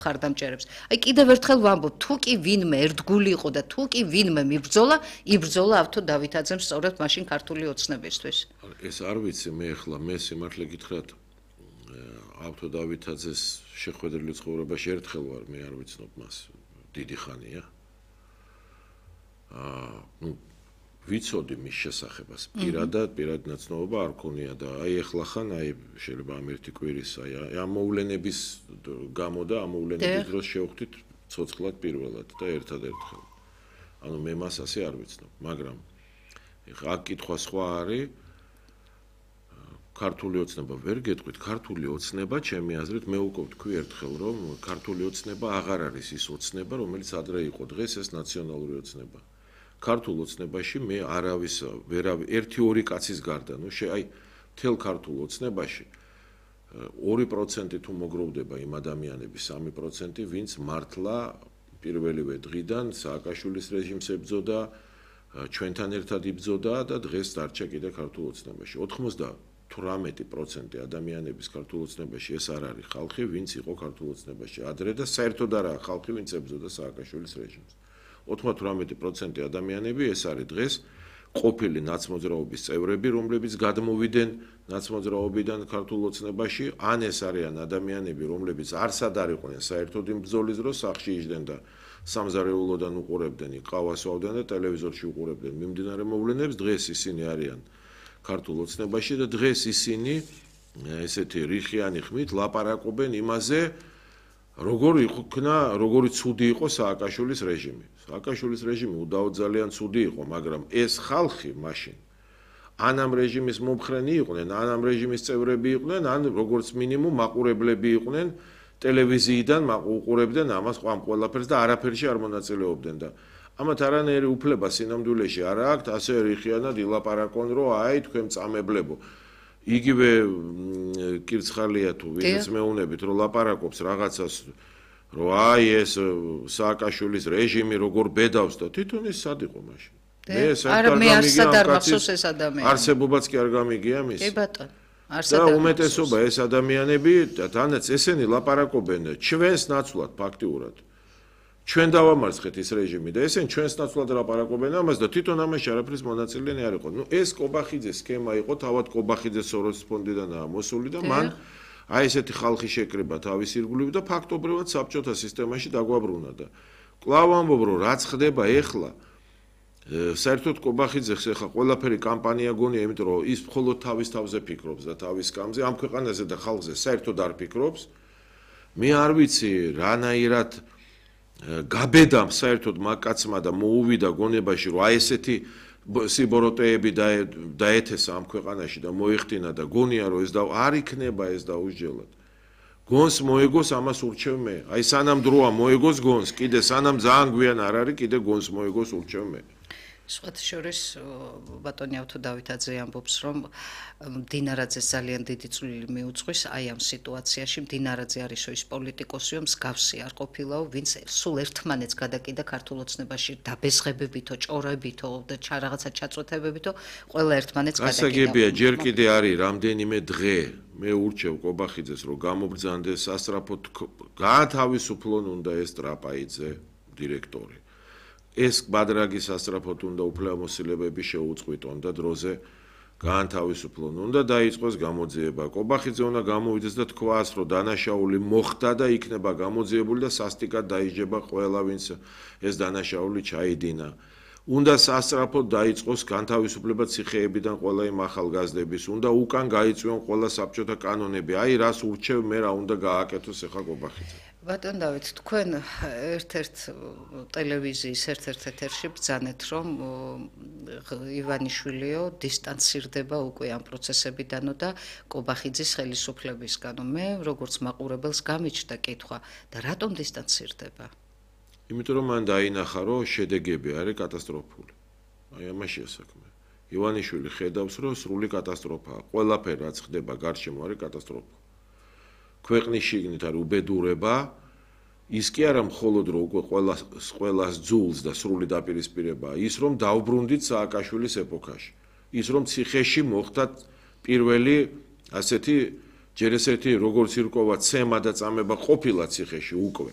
ხარდამჭერებს. Აი კიდევ ერთხელ ვამბობ, თუ კი ვინმე ერთგული იყო და თუ კი ვინმე იბრძოლა ავთო დავითაძემ სწორედ მაშინ ქართული ოცნებისთვის. ეს არ ვიცი მე სიმართლე გითხრათ ავთო დავითაძეს შეხვედრილი ცხოვრებაში ერთხელ ვარ, მე არ ვიცნობ მას დიდი ხანია. ვიცოდი მის შესახებას. პირად ნაცნობობა არ ქონია და აი ეხლა ხან შეიძლება ამ ერთი კვირის ამ მოვლენების გამო და ამ მოვლენების დროს შევხვდით ცოცხლად პირველად და ერთადერთხელ. ანუ მე მას ასე არ ვიცნობ, მაგრამ ეხლა აქ კითხვა სხვა არის ქართული ოცნება ვერ გეტყვით, ქართული ოცნება, ჩემი აზრით, მე უკვე ვთქვი ერთხელ, რომ ქართული ოცნება აღარ არის ის ოცნება, რომელიც ადრე იყო, დღეს ეს ნაციონალური ოცნება. ქართულ ოცნებაში მე ერთი ორი კაცის გარდა, აი მთელ ქართულ ოცნებაში 2% თუ მოგროვდება იმ ადამიანების 3%, ვინც მართლა პირველივე დღიდან სააკაშვილის რეჟიმს ებრძოდა, ჩვენთან ერთად იბრძოდა და დღეს დარჩა კიდე ქართულ ოცნებაში. 98% ადამიანების ქართულ ოცნებაში ეს არ არის ხალხი, ვინც იყო ქართულ ოცნებაში ადრე და საერთოდ არა ხალხი, ვინც ებრძოდა სააკაშვილის რეჟიმს. 98% ადამიანები ეს არის დღეს ყოფილი ნაცმოძრაობის წევრები, რომლებიც გადმოვიდნენ ნაცმოძრაობიდან ქართულ ოცნებაში, ან ეს არიან ადამიანები, რომლებიც არსად არ იყვნენ საერთოდ იმ ბრძოლის დროს სახლში იჯდნენ და სამზარეულოდან უყურებდნენ, ყავას ვავდნენ და ტელევიზორში უყურებდნენ მიმდინარე მოვლენებს, დღეს ისინი არიან ქართულ ოცნებაში და დღეს ისინი ესეთი რიხიანი ხმით ლაპარაკობენ იმაზე, როგორი ცუდი იყო სააკაშვილის რეჟიმი. სააკაშვილის რეჟიმი უდავოდ ძალიან ცუდი იყო, მაგრამ ეს ხალხი მაშინ ან ამ რეჟიმის მომხრენი იყვნენ, ან ამ რეჟიმის წევრები იყვნენ, ან როგორც მინიმუმ მაყურებლები იყვნენ, ტელევიზიიდან უყურებდნენ ამას ყველაფერს და არაფერში არ მონაწილეობდნენ და ამათ არანაირი უფლება სინამდვილეში არ აქვთ, ასე რიხიანად ილაპარაკონ, რომ აი თქვენ წამებლებო. იგივე კირცხალია თუ ვინც მეუნებით რომ ლაპარაკობს რაღაცას რომ აი ეს სააკაშვილის რეჟიმი როგორ ბედავს და თვითონ ის სად იყო მაშინ მე საერთოდ არ მახსოვს ეს ადამიანი არსებობაც კი არ გამიგია მის კი ბატონო და უმეტესობა ეს ადამიანები თანაც ესენი ლაპარაკობენ ჩვენს ნაცვლად ფაქტიურად ჩვენ დავამარცხეთ ის რეჟიმი და ესენ ჩვენს ნაცვლად ლაპარაკობენ ამას და თვითონ ამაში არაფრის მონაწილენი არ იყო. ეს კობახიძეს სქემა იყო, თავად კობახიძე სოროსის ფონდიდანაა მოსული და მან აი ესეთი ხალხი შეკრება თავის ირგვლივ და ფაქტობრივად საბჭოთა სისტემაში დაგვაბრუნა და კვლავ ამბობ რომ რაც ხდება ეხლა საერთოდ კობახიძეს ეხლა ყველაფერი კამპანია გონია, იმიტომ რომ ის მხოლოდ თავის თავზე ფიქრობს და თავის სკამზე, ამ ქვეყანაზე და ხალხზე საერთოდ არ ფიქრობს. მე არ ვიცი რანაირად გაბედამ საერთოდ მაკაცმა და მოუვიდა გონებაში რომ აი ესეთი სიბოროტეები დაეთესა ამ ქვეყანაში და მოიხდინა და გონია რომ ეს არ იქნება ეს დაუსჯელად. გონს მოეგოს ამას ურჩევ მე. აი სანამ დროა მოეგოს გონს, კიდე სანამ ძალიან გვიან არ არის, კიდე გონს მოეგოს ურჩევ მე. სხვათა შორის ბატონი ავთო დავითაძე ამბობს რომ მდინარაძეს ძალიან დიდი წვლილი მიუძღვის აი ამ სიტუაციაში მდინარაძე არისო ის პოლიტიკოსიო მსგავსი არ ყოფილაო ვინც სულ ერთმანეთს გადაკიდა ქართულ ოცნებაში დაბესღებებითო ჭორებითო და რაღაცა ჩაწვეთებებითო ყველა ერთმანეთს გადაკიდა ასაგებია ჯერ კიდე არის რამდენიმე დღე მე ურჩევ კობახიძეს რომ გამობრძანდეს სასწრაფოდ გაათავისუფლონ უნდა ეს ტრაპაიძე დირექტორი ეს ბადრაგის სასწრაფოდ უნდა უფლებამოსილებები შეუწყვიტონ და დროზე გაანთავისუფლონ უნდა დაიწყოს გამოძიება. კობახიძე უნდა გამოვიდეს და თქვას, რომ დანაშაული მოხდა და იქნება გამოძიებული და სასტიკად დაიჯება ყველა, ვინც ეს დანაშაული ჩაიდინა. უნდა სასწრაფოდ დაიწყოს განთავისუფლება ციხეებიდან ყველა იმ ახალგაზრდების, უნდა უკან გაიწვიონ ყველა საბჭოთა კანონები. აი რას ურჩევ მე რა უნდა გააკეთოს ახლა კობახიძე. ბატონ დავით, თქვენ ერთ-ერთ ტელევიზიის ერთ-ერთ ეთერში ბრძანეთ, რომ ივანიშვილიო დისტანცირდება უკვე ამ პროცესებიდანო და კობახიძის ხელისუფლებისგანო. მე როგორც მაყურებელს გამიჩნდა კითხვა და რატომ დისტანცირდება? იმიტომ რომ მან დაინახა, რომ შედეგები არის კატასტროფული. აი ამაშია საქმე. ივანიშვილი ხედავს, რომ სრული კატასტროფაა. ყველაფერი რაც ხდება გარშემო არის კატასტროფა. ქვეყნის შიგნით არის უბედურება, ის კი არა მხოლოდ რომ უკვე ყველას ძულს და სრული დაპირისპირებაა, ის რომ დაუბრუნდით სააკაშვილის ეპოქაში. ის რომ ციხეში მოხდათ პირველი ასეთი ჯერ ესეთი როგორც ირკვევა ცემა და წამება ყოფილა ციხეში უკვე.